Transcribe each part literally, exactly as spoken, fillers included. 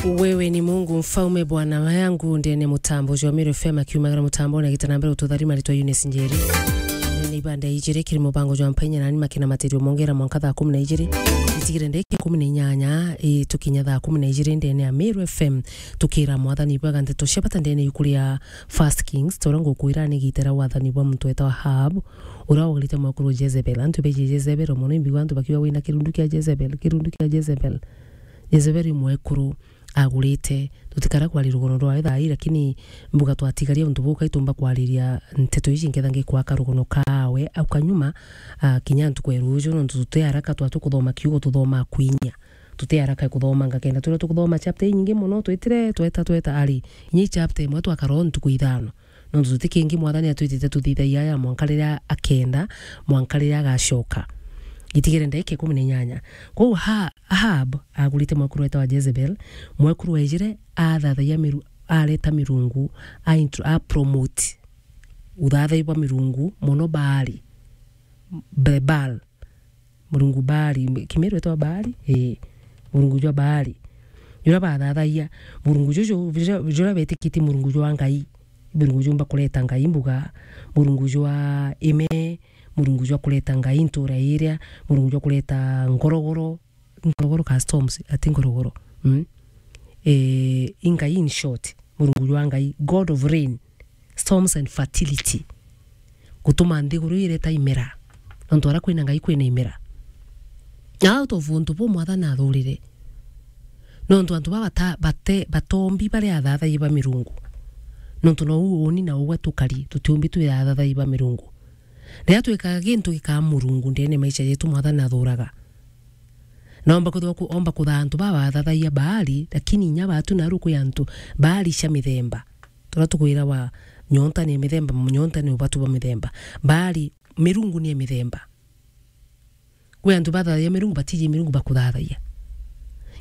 Wewe ni Mungu mfaume, Bwana wangu, ndene mutambo jwa Meru F M, akiumagara mutambo na gita na mbere ututharima ritwa Eunice Njeri. Ni ibanda ijiri kiri mubango jwa Mpainya nani makina matirio mongera mwanka thaa kumi na ijiri. Itigire ndeke kumi na inyanya, i, tukinya thaa kumi na ijiri ndene ya Meru F M, tukira mwathani bwaga nteto cia bata ndene yukuria First Kings, tora ngukwira ni gitera wathani bwa muntu wetwa Ahab, ura wagarite mwekuru Jezebel. Antu beji Jezebel, mono imbiwa antu bakiwa wina kirundu kia Jezebel, kirundu kia Jezebel. Jezebel i mwekuru agurite. Tutikara kwaria rugono rwawe thaa ii, lakini mbuga twatigaria untu buu, kaitumba kwariria nteto iji nketha ngikwaka rugono kawe au kanyuma, ah, kinya ntuku ya ruju, nontu tuti haraka twatu kuthoma kiugo, tuthoma kwinya. Tuti haraka kuthoma ngakenda turia tukuthoma chapter inyingi mono, twitire tweta, tweta, ari, inya i chapter imwe twakara o ntuku ithano. Nontu tuti kingi mwathani atwitite tuthithagia ya mwanka riria akenda, mwanka riria agacoka. Itigire ndaika ikumi na inyanya. Kwou ha-, Ahab agurite mwekuru wetagwa Jezebel, mwekuru wejire athathagia miru-, areta mirungu, a intro-, a promote uthathai bwa mirungu, mono Baali, Be-, Baal. Murungu Baali, Kimiru etwa Baali? Ii, murungu jwa Baali. Juria bathathagia, murungu juju, juria, juria betikitie murungu jwa Ngai. Murungu jumba kureta Ngai mbuga, murungu jwa ime, murungu jwa kureta Ngai ntura iria, murungu jwa kureta ngorogoro, ngorogoro ka storms, ati ngorogoro. Mm? Eh, i Ngai in short, murungu jwa Ngai, God of rain, storms and fertility. Gutuma nthiguru ireta imera. Nontu ara kwina Ngai kwina imera. Out of untu buu mwathani athurire. Nontu antu baba bata-, bate-, batombi baria athathai ba mirungu. Nontu nou uni na ugwe tukari, tutiumbi twi athathai ba mirungu. Riria twikaga gintu gikaa murungu ndene maisha jetu mwathani athuraga. Na omba kuthwa ku-, omba kuthaa antu baba athathagia Baali, lakini inya batu naru kwi antu Baali cia mithemba. Turia tukwira wa nyonta ni mithemba, nyonta ni ubatu bwa mithemba. Baali, mirungu ni mithemba. Kwi antu bathathagia mirungu, batiji mirungu bakuthathagia.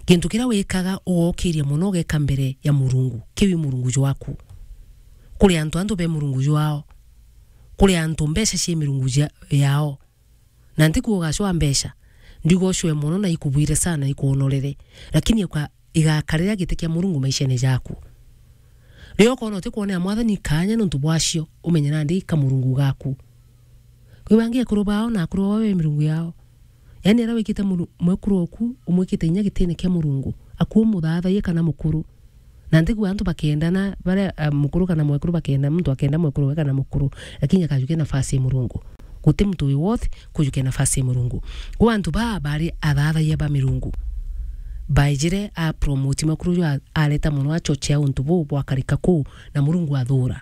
Gintu kiria wikaga ugokiria mono ugeka mbere ya murungu, kiu i murungu jwaku. Kuri antu antu be murungu jwao. Kuri antu mbeca cie mirungu jia-, yao. Na ntiku ugacwa mbeca, ndiuga ucwe mono na ikubwire sana, ikuonorere, lakini uka-, igakarira giti kia Murungu maishene jaku. Riria ukona utikwonera mwathani kanya nontu bwacio, umenye nandi ka Murungu gaku. Kwi bangi ekuru bao na akuru bao be mirungu yao. Yani, aria wikite muru-, mwekuru oku, umwikite inya gitine kia Murungu, aku umuthathaie kana mukuru. Na ntiku antu bakendana, baria, ah, mukuru kana mwekuru bakenda, muntu akenda mwekuru we kana mukuru, lakini akajukia nafasi ya Murungu. Guti muntu wi worth kujukia nafasi ya Murungu. Kwa antu baa bari athathaia ba mirungu, baejire a promote mwekuru uju a-, areta mono achochea untu buu bwakarika kuu, na Murungu athura.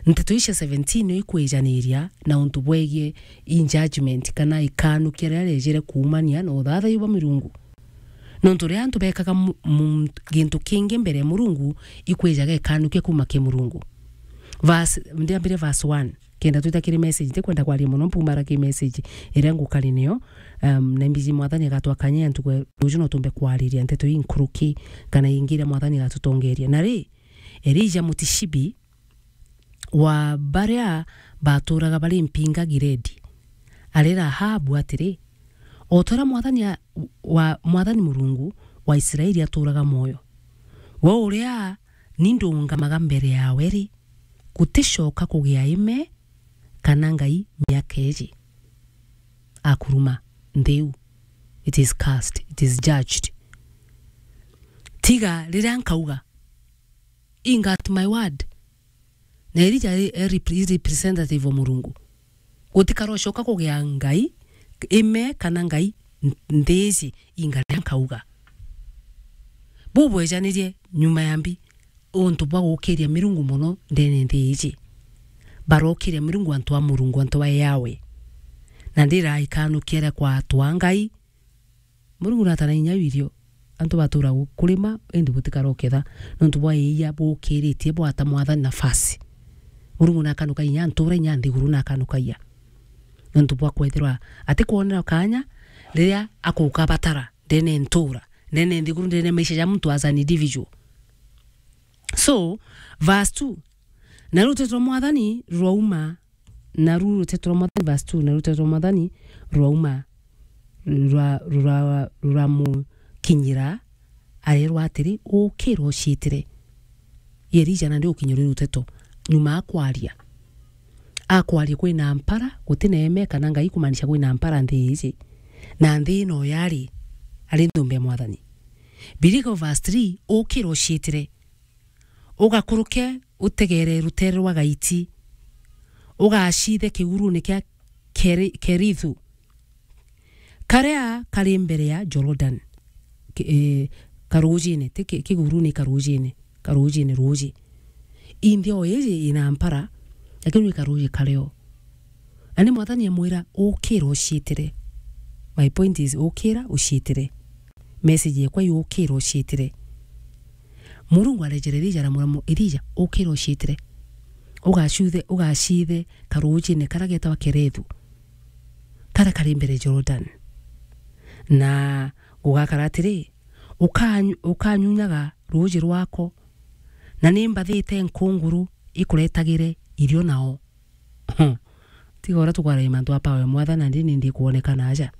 Nteto ici cia seventeen nio ikwijaniria na untu bwegie i judgment kana ikanukia riria riejire kuumania na uthathai bwa mirungu. Nontu riria antu bekaga mu-, mu-, gintu kingi mbere ya Murungu, ikwijaga ikanukia kuuma ki Murungu. Verse, ndiambire verse one, kenda twita kiri message, ntikwenda kwaria mono, mpumara ki message iria ngukari niyo, um, na mbiji mwathani agatwa kanya ya ntuku ya ruju no tumbe kwariria nteto inkuruki kana ingi iria mwathani agatutongeria. Na ri, Elija Mutishibi, wa baria baturaga bari mpinga Gileadi, arera Ahabu atiri, "O ta uria mwathani a-, wa, mwathani Murungu wa Israeli aturaga mwoyo, we uria ni ndungamaga mbere yawe ri, guticoka kugia ime kana ngai miaka iji." Akuruma, "Nthi iu, it is cursed, it is judged. Tiga riria nkauga, inga at my word." Na Elija e, e repre-, e representative wa Murungu. Gutikarocoka kugia ngai, ime kana ngai n-, nthi iji inga riria nkauga. Buu bwejanirie nyuma ya mbi untu bwa gukiria mirungu mono ndene nthi iji. Barokiria mirungu antu a Murungu, antu a Yahweh. Na ndira ikanukia ria kwa antu a Ngai, Murungu natana inya wirio, antu batura gu-, kurima, indi butikara uketha, nontu bwa iia bukiritie bwata mwathani nafasi. Murungu nakanuka inya ntura inya nthiguru nakanukagia. Nontu bwa kwethirwa atikwonera kanya riria akukabatara ndene ntura, ndene nthiguru, ndene maisha ja muntu as an individual. So, verse two, na ruteto rwa mwathani rwauma, na ru ruteto rwa mwathani, verse two, na ruteto rwa mwathani rwauma, rura-, rura-, ruramukinyira, arerwa atiri, "Ukira uciitire." Elija nandi ukinyurirwe ruteto, nyuma akwaria. Akwaria kwina mpara, gutina eme kana Ngai kumaanisha kwina mpara nthi iji. Na nthi ino yari, ari nthumba ya Mwathani. Biriga verse three, "Ukira uciitire. Ugakuruke utegere rutere rwa Gaiti. Ugaciithe kigurune kia Keri-, Kerithu, karia kari mbere ya Jordan." Ki-, eh, karujine, ti ki-, kigurune, karujine, karujine, ruji. Inthi o iji ina mpara, lakini ni karuji kario. Ani Mwathani amwira, "Ukira uciitire." My point is, ukira uciitire. Message yekwa i ukira uciitire. Murungu arejera Elija, aramwira mu-, Elija, "Ukira uciitire. Ugacuthe, ugaciithe karujine karia getagwa Kerethu, karia kari mbere Jordan. Na gugakara atiri, ukanyu-, ukanyunyaga ruji rwako, na ni mbathite nkunguru ikuretagire irio nao." Tiga uria tukwaragia mantu a power ya Mwathani, nandi ni ndikwonekana aja.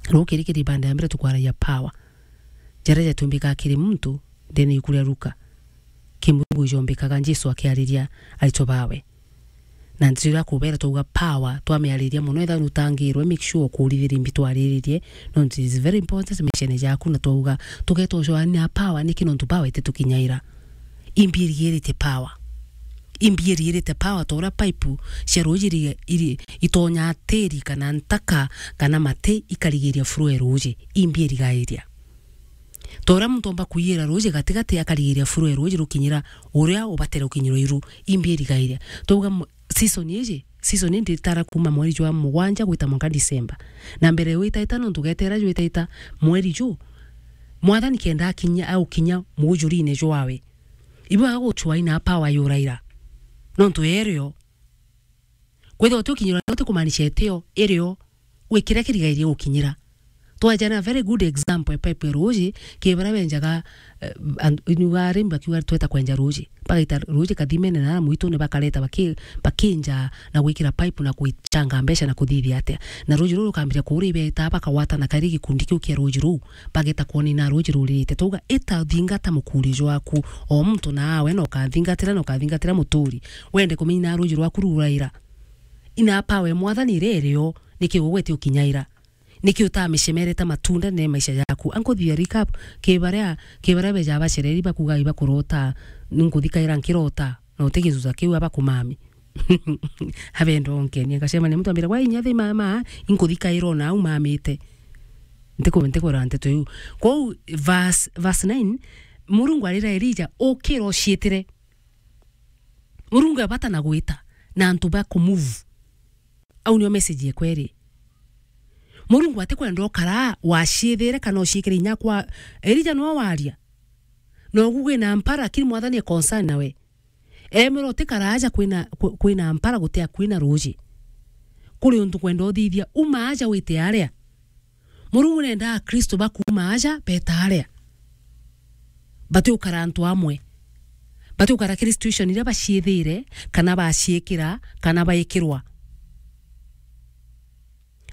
Rukiri kiri banda ya mbere tukwaragia power. Jaria jatumbikaga kiri muntu, ndene iku ria Luka. Kimurungu ijombikaga Jesu akiariria aritwa bawe. Na ndeto iria akubera twauga power, twamiariria mono, ethira nutangirwe, make sure ukurithiria imbi twariririe, nontu it is very important maishene jaku, na twauga, tugeta ucoania power, niki nontu power ititukinyaira. Imbi irigirite power. Imbi irigirite power, ta uria pipe cia ruji iri, iri, itonyaa tiri kana ntaka kana mati ikarigiria flow ya ruji. Imbi irigairia. Ta uria muntu omba kuiyira ruji gatigati akarigiria flow ya ruji rukinyira uria ubatire gukinyirwa iru. Imbi irigairia. Twauga mu-, season iji, season ii nditara kuuma mweri jwa mugwanja gwita mwanka December. Na mbere witaita nontu ugetera jwitaita mweri ju, Mwathani kenda akinya, aukinya mujurine jwawe. Ibu agaguchwa ina power yuraira. Nontu erio. Kwithirwa uti ukinyirwa, uti kumaanisha etio, irio, wi kiria kirigairie gukinyira. Twajana a very good example ya pipe ya ruji, ki baria benjaga, eh, and-, inuga arimi bakiuga tweta kwenja ruji. Bagaita ruji kathimene na aria mwitune bakareta baki-, bakinja na gwikira pipe na kwichanga mbeca na kuthithia atia. Na ruji ruu rukambiria kuura ibeta, bakagwatana kari gikundi kiu kia ruji ruu, bageta kwona ina ruji ruririte. Twauga, ita thingata mukuri jwaku, o muntu na awe na ukathingatira na ukathingatira muturi. Wende kumenya ina ruji rwaku ruraira. Ina power ya Mwathani iria irio, niki ugwete ukinyaira? Niki utamicemerete matunda ne maisha jaku? Ankuthithia recap, ki baria, ki baria beja bacereri bakuga ibakurota, ninkuthikaira nkirota, na uti gicuca kiu abakumami. Abendo onkenia, ngacemania muntu ambira, "Gwa inya thi mama, inkuthikaira ona au mamite." Ntiku-, ntikwira nteto iu. Kwou verse, verse nine, Murungu arira Elija, "Ukira uciitire." Murungu ebata na gwita na antu ba kumove. Au nio message yekwa iri. Murungu atikwenda ukara waciithire kana uciikire inya kwa Elija nwa waria. No gugwina mpara, lakini Mwathani e concern nawe. Emera utikara aja kwina, kwi-, kwina mpara gutia kwina ruji. Kuri untu kwenda uthithia, uma aja wite aria. Murungu nenda Akristo bakuuma aja beta aria. Batiukara antu amwe. Batiukara kiri situation iria baciithire, kana baciikira, kana baikirwa.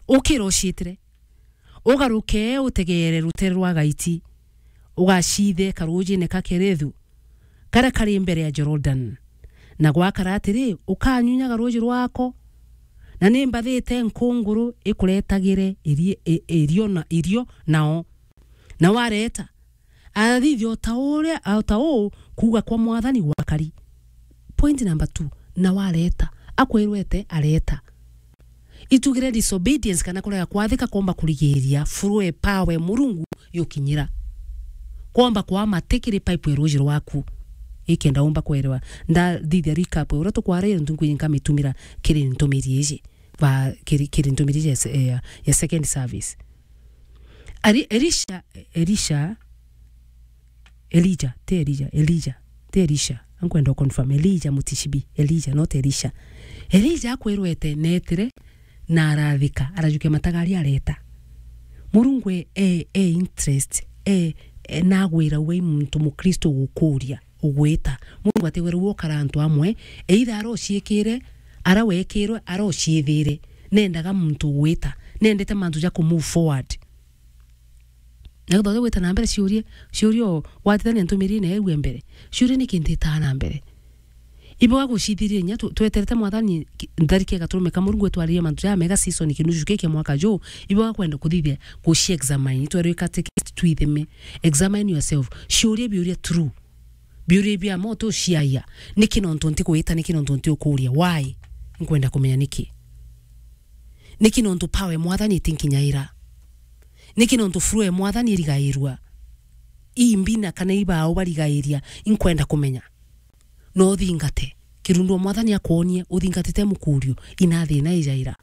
Ukira uciitire. Ugaruke utegeere rutere rwa Gaiti. Ugaciithe karujine ka Kerethu, karia kari mbere ya Jordan. Na gwakara atiri, ukanyunyaga ruji rwako, na ni mbathite nkunguru ikuretagire irie-, i-, irio na, irio nao. Na wareta, athithia o ta uria, o ta uu kuuga kwa Mwathani gwakari. Point number two, na wareta. Akwirwete areta. Itugire disobedience kana kurega kwathika kwomba kurigiria flow e power e Murungu yukinyira. Kwomba kwama ti kiri pipe e ruji rwaku. Ikenda umba kwerewa. Ndathithia recap uria tukwaraire ntungu inka mitumira kiri ntumiri iji. Ba, kiri, kiri ntumiri iji ya se-, ya, ya second service. Ari-, Elisha, Elisha, Elijah, ti Elijah, Elijah, ti Elisha. Ankwenda u confirm, Elijah Mutishibi, Elijah, not Elisha. Elijah akwirwete netire na arathika, arajukia matagari areta. Murungu e, e, e interest, e, e nagwira we muntu Mukristo gukuria. Ugwita. Murungu atigwira ugukara antu amwe, either ara uciikire, ara wekirwe, ara uciithire. Nendaga muntu ugwita. Nendete mantu ja ku move forward. Na guthoja gwita na mbere, ciurie, ciurie o, watithania ntumirine ewe mbere. Ciurie niki ntitaa na mbere. Iboga gucithiriria inya tu-, tweterete Mwathani ki-, ntharike gaturume ka Murungu etwaririe mantu jamega season kinuju kiki kia mwaka juu. Iboga kwenda kuthithia guci examine. Twerwe katekist twithime. Examine yourself. Ciurie biuria true. Biuria bia moto ciaia. Niki nontu nti gwita, niki nontu nti ukuria? Why? Nkwenda kumenya niki. Niki nontu power ya Mwathani itinkinyaira? Niki nontu flow ya Mwathani irigairua? Ii mbina kana ibao barigairia? Inkwenda kumenya. No uthingate. Kirundu o Mwathani akwonie, uthingatite mukurio, ina thina ijaira.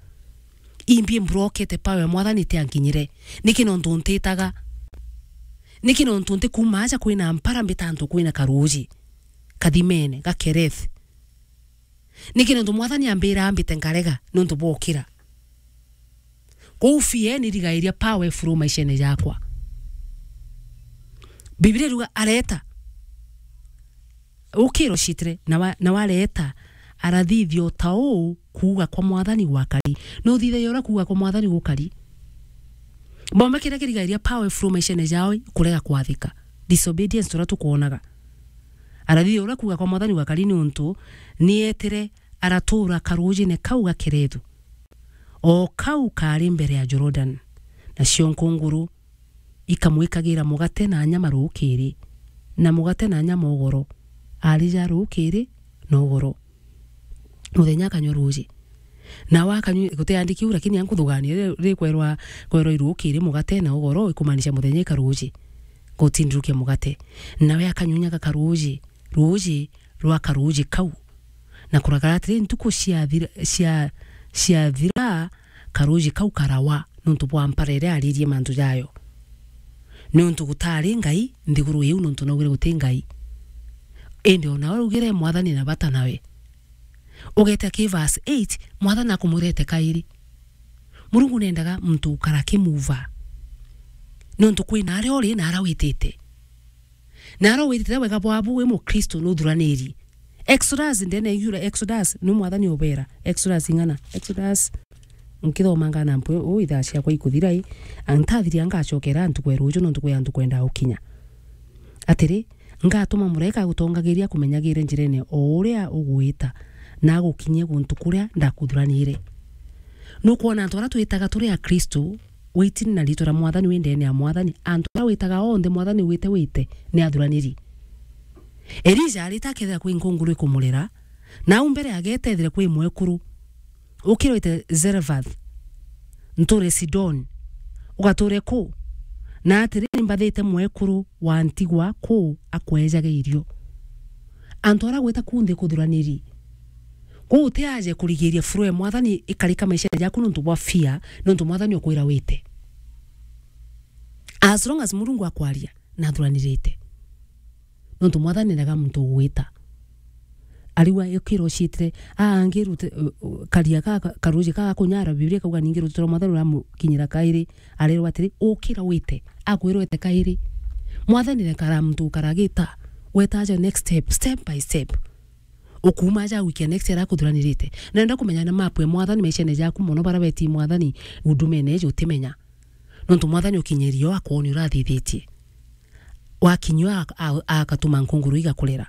Imbi mbrokete power ya Mwathani itiankinyire. Niki nontu ntitaga? Niki nontu nti kuuma aja kwina mpara mbita antu kwina karuji? Kathimene, gakereth. Niki nontu Mwathani ambira ambite nkarega nontu bwokira? Kou fear nirigairia powerful maishene jakwa. Biblia iruga areta. Ukiro citire, na wa-, na wareta, arathithio ta uu kuuga kwa Mwathani gwakari. Nuthithagia uria kuuga kwa Mwathani gukari? Bomba kiria kirigairia powerful maishene jao kurega kwathika. Disobedience turia tukwonaga. Arathithia uria kuuga kwa Mwathani gwakari niuntu nietire aratuura karujine kau gakerethu. O kau kaari mbere ya Jordan. Nacio nkunguru ikamwikagira mugate na nyama rukiri, na mugate na nyama ugoro, arija rukiri na ugoro. Muthenya akanyua ruuji. Nawe akanyua, gutiandiki u, lakini ankuthugania ri-, rikwerwa, kwerwa irukiri mugate na ugoro, ikumaanisha muthenya ikaruuji. Gutindurukia mugate. Nawe akanyunyaga karuuji, ruuji rwa karuuji kau. Na kuragara atiri, ntuku ciathira, cia-, ciathira, karuuji kau karawa, nontu bwa mpara iria aririe mantu jayo. Niuntu gutari Ngai nthiguru iu, nontu naugire guti Ngai. Indi o nawe ugire Mwathani na bata nawe. Ugete ki verse eight, Mwathani akumurete kairi. Murungu nendaga muntu ukara kimuva. Niuntu kwina aria uri na aria witite. Na aria witite wega bwabu wi Mukristo nuthuranirie. Exodus, ndene yura Exodus, ni Mwathani ubera. Exodus ing'ana? Exodus, nkithomanga na mpwe, u ithaa ciakwa ikuthira i, antathiria ngacokera ntuku ya ruju, nontu kwi antu kwenda gukinya. Atiri, ngatuma muraika agutongagiria akumenyagire njirene o uria ugwita, na agukinyie guntu kuria ndakuthuranire. Nukwona antu aria twitaga turi Akristo, waiting na ritwa ria Mwathani, wi ndene ya Mwathani, antu aria witaga onthe Mwathani wite wite, ni athuraniri. Elija arita akethira kwi nkunguru ikumurera, na au mbere agetethire kwi mwekuru. Ukirwite Zarephath, nture Sidon, ugature ku? Na atiri, ni mbathite mwekuru wa ntigwa ku akwejage irio. Antu aria gwita ku nthi kuthuraniri. Kwou utiaje kurigiria flow ya Mwathani ikarika maishene jaku nontu bwa fear, nontu Mwathani ukwira wite. As long as Murungu akwaria, nathuranirite. Nontu Mwathani endaga muntu ugwita. Ariwa ukira uciitire, aa, angi rute, uh, uh, karia ka, ka, karuji ka kunyara, Biblia ikauga ningi ruteto rwa Mwathani ruramukinyira kairi, arerwa atiri, ukira wite, akwirwa wite kairi. Mwathani rekara muntu ukaragita, wetaja next step, step by step. Ukuuma aja gwikia next ara akuthuranirite. Nenda kumenya na map ya Mwathani maishene jaku mono, bara beti Mwathani hudumene eji utimenya. Nontu Mwathani ukinyirio akwoni urathithitie. Wakinyua ak-, a-, agatuma nkunguru igakurera.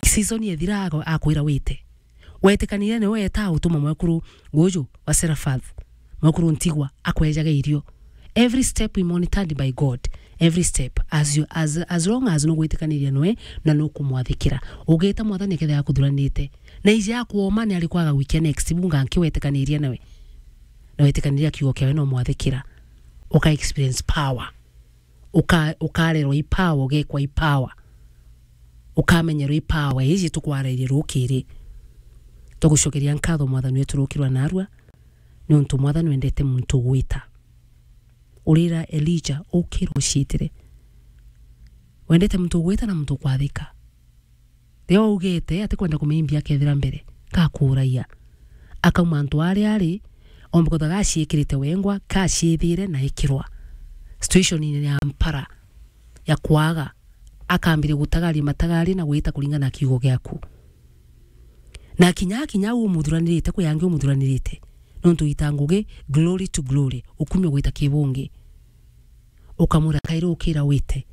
Season yethira ago-, akwira wite. Wetikaniria niwe weta utuma mwekuru uju wa Seraphath, mwekuru ntigwa, akwejage irio. Every step we monitored by God. Every step. As you, as, as long as nugwitikaniria niwe na nukumwathikira. Ugita Mwathani akethira akuthuranite. Na ije akwoma ni ari kwaga gwikia next, bunga nki wetikaniria nawe. Na wetikaniria kiugo kiawe no mwathikira. Uka experience power. Uka-, ukarerwa i power, ugekwa i power. Ukamenyerwa i power iji tukwarairie rukiri. Tugucokeria nkatho Mwathani wetu rukirwa narua, niuntu Mwathani wendete muntu ugwita. Urira Elija, ukira uciitire. Wendete muntu ugwita na muntu ukwathika. Riria waugite atikwenda kumimbia akethira mbere, gakuragia. Akauma antu aria ari, ombe kwithwa gaciikirite wengwa, gaciithire na ikirwa. Situation ya mpara, ya kwaga, akambiria gutagaria matagaria na gwita kuringana na kiugo giaku. Na kinya, kinya u umuthuranirite, kwi angi umuthuranirite. Nontu ita ngugi, glory to glory, ukumio gwita kibungi. Ukamwira, kairi ukira wite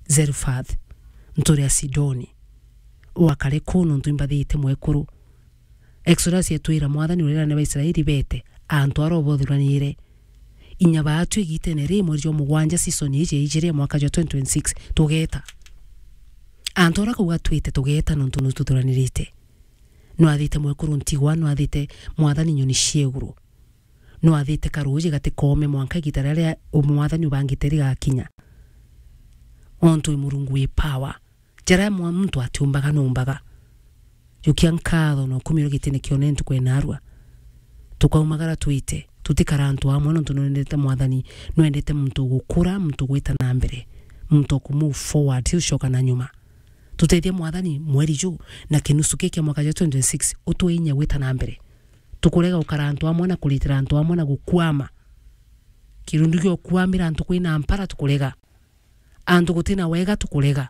Zarephath, nture ya Sidoni, wakare kuu nontu imbathite mwekuru. Exodus yetwira Mwathani urera ni Baisraeli bete, antu aria ubothuranire. Inya baatu igitene ri mweri jwa mugwanja season iji ya ijiri ya mwaka jwa twenty twenty-six, tugeta. Antu aria kauga twite tugeta nontu nututhuranirite. Nwathite mwekuru ntigwa, nwathite Mwathani nyoni cia iguru. Nwathite karuuji gatikome mwanka igita riria Mwathani ubangite rigakinya. Ontu wi Murungu wi power. Jaria mwa-, muntu atiumbaga nuumbaga. Jukia nkatho na ukumirwe gitine kione ntuku ya narua. Tukaumagara twite, tutikara antu amwe nontu nwendete Mwathani, nwendete muntu ugukura, muntu ugwita na mbere, muntu uku move forward, ti ucoka na nyuma. Tutethie Mwathani mweri ju na kinusu ki kia mwaka jwa twenty twenty-six, utwinye gwita na mbere. Tukurega gukara antu amwe na kuritira antu amwe na gukwama. Kirundu gia gukwamira antu kwina mpara tukurega. Antu gutina wega tukurega.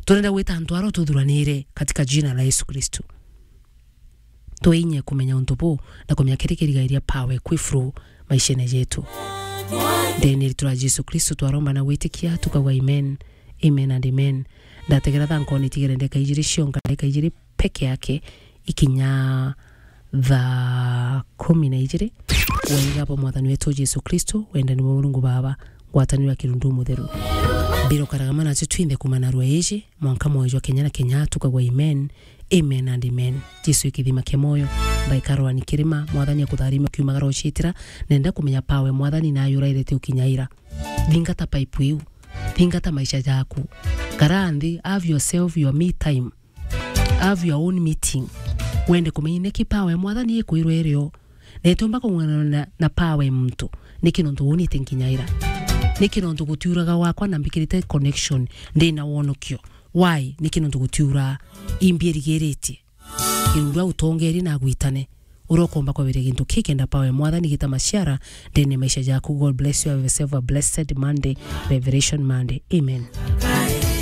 Turenda gwita antu aria tuthuranire katika jina la Yesu Kristo. Twinye kumenya untu buu na kumenya kiri kirigairia power kwi flow maishene jetu. Ndene ritwa ria Jesu Kristo twaromba na gwitikia, tukauga amen. Amen and amen. Ndategera thaa nkoni tigere ndeka ijiri cionka, ndeka ijiri peke yake ikinya thaa kumi na ijiri. Wega bwa Mwathani wetu Jesu Kristo, wendani bwa Murungu Baba, ngwataniro ya Kirundu Mutheru, mbiro karagama nacio twinthe kuuma narua iji mwanka mwoyo jwa kenya na kenya, tukagwa amen, amen and amen. Jesu ikithima kia moyo, mbaika rwani kirima, Mwathani akutharime ukiumagara uciitira, nenda kumenya power Mwathani nayo urairete ukinya ira. Thingata pipe iu. Thingata maisha jaku. Kara nthi, have yourself your me time. Have your own meeting. Wende kumenya niki power ya Mwathani ikwirwa irio. Na itiumba kung'ang'ana na, na power ya muntu. Niki nontu unite nkinya ira? Niki nontu gutiuraga gwakwa na mbikirite connection ndi na wonokio? Why? Niki nontu gutiura imbi irigiritie? Kirundu autongeri na agwitane. Uria ukomba kwabiria gintu kii kenda power ya Mwathani gita maciara ndene maisha jaku. God bless you. Have yourself a blessed Monday, Revelation Monday. Amen.